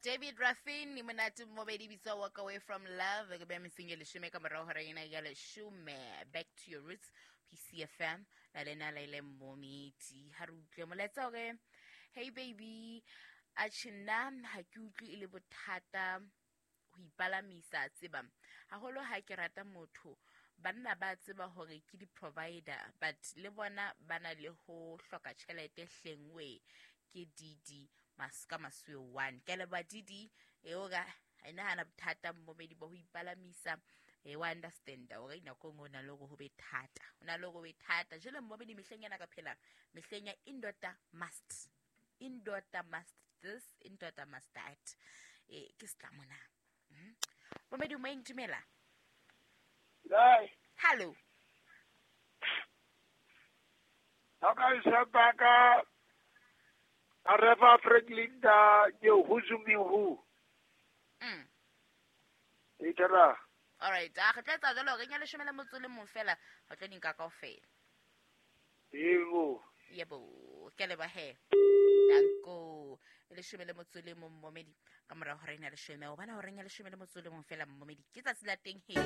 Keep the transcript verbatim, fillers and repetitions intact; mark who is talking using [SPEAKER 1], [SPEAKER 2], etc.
[SPEAKER 1] David Ruffin monate mmobedi bitswa Walk Away From Love ke beya metsing e leshome ka morao hora ena ya leshome. Back to your roots, P C F M na lena la ile momedi ha re utlwe molaetsa hore hey baby, atjhe, nna ha ke utlwe e le bothata ho ipalamisa tseba haholo ha ke rata motho. Banna ba tseba hore ke di-provider, but le bona ba na le ho hloka tjhelete hlengwe. Ke D D mas ka masuwe one. Ke a leboha D D eo ka e nahana bothata mmomedi ba ho ipalamisa e wa understand hore nako e nngwe o na le hore ho be thata, ho na le hore ho be thata. Jwale mmomedi, mehleng ena ka phelang mehleng ya indoda must, indoda must this, indoda must that, e ke setlamo na? Momedi moyeng, dumela.
[SPEAKER 2] Kae?
[SPEAKER 1] Hallo.
[SPEAKER 2] Ka Areva Franklin da ke huzumihu.
[SPEAKER 1] mm.
[SPEAKER 2] Itara.
[SPEAKER 1] Alright, a re tla etsa jalo re nya leshome le motso le mong fela re tlo di nka kaofela.
[SPEAKER 2] Yebo.
[SPEAKER 1] Yebo, ke a leboha he, danko. E leshome le motso le mong momedi ka morao hora ena leshome o bona horeng ya leshome le motso le mong fela. Momedi, ke tsatsi la teng he.